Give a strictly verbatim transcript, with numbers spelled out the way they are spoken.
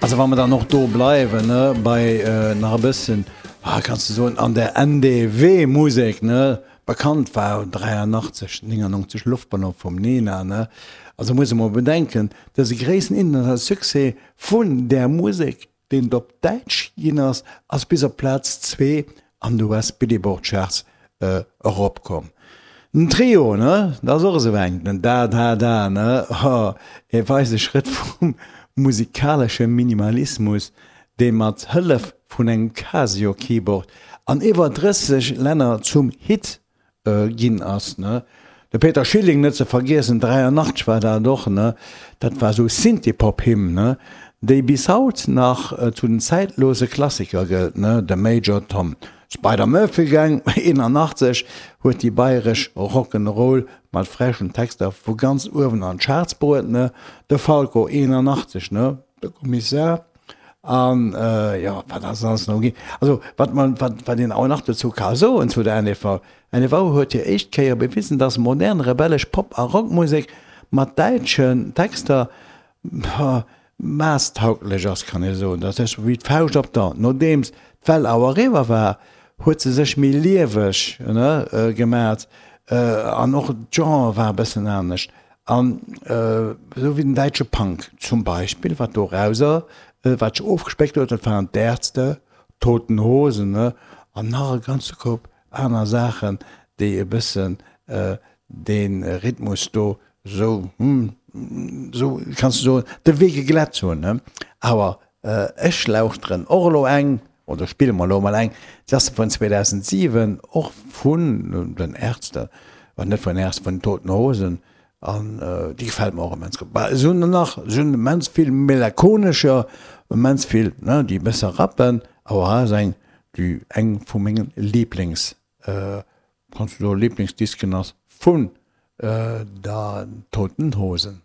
Also wa mer dann och do bleiwen, ne, bei nach e bëssen, ah, kanns de soen, an der N D W Musek, ne, bekannt war dräianachtzeg, néngannonzeg Luftballon vum Nena, ne. Also muss ee mol bedenken, dëse gréissten internationale Succès vun där Musek, deen et op Däitsch ginn ass, ass bis op Plaz zwee an de U S Billboard Charts eropkomm. Den Trio, ne, dat ass och esou eng, den Da Da Da, ne, ho, e weise Schrëtt vum musikalesche Minimalismus, dee mat Hëllef vun engem Casio Keyboard an iwwer drësseg Länner zum Hit ginn ass, ne. De Peter Schilling net ze vergiessen, dräianachtzeg war dat och, ne, dat war esou Synthie-Pop-Hymn, ne, déi bis haut nach zu den zäitlose Klassiker gëllt, ne, de Major Tom. D'Spider Murphy Gang, eenanachtzeg, huet déi bayresch Rock'n'Roll mat frechen Texter vu ganz uewen an d'Charts bruet, ne, de Falco, eenanachtzeg, ne, de Kommissar. An jo, wat ass alles nach ginn. Also wat man, wat, wat een och nach dozou ka soen zu der N D V, N D V huet hir éischt Kéier bewisen, dass modern rebellesch Pop a Rockmusek mat däitschen Texter masstauglech ass, kann ee soen. Dat ass wéi d'Fauscht op d'A. Nodeems d'Well awer eriwwer war, huet se sech méi lieweg, ne, gemat an och d'Genre war e bëssen anescht. An esou wéi den däitsche Punk zum Beispill, wat dorauser, wat sech ofgespéckt huet, dat waren d'Ärzte, d'Toten Hosen, ne, an nach e ganze Koup aner Saachen, déi e bëssen dee Rhythmus do esou, esou kanns de soen, de Wee geglätt hunn, ne. Awer ech lauschteren och elo eng, oder spille mer elo emol eng, déi ass vun zweedausentsiwen, och vun den Ärzte, net vun den Ärzte, vun den Toten Hosen, an déi gefält mer och immens gutt. Bah, se hunn der nach, se hunn immens vill melanchonescher, immens vill, ne, déi e bësse rappen, awer hei ass eng, déi eng vu menge Lieblings, kanns du soen, Lieblingsdisken ass vun der Toten Hosen.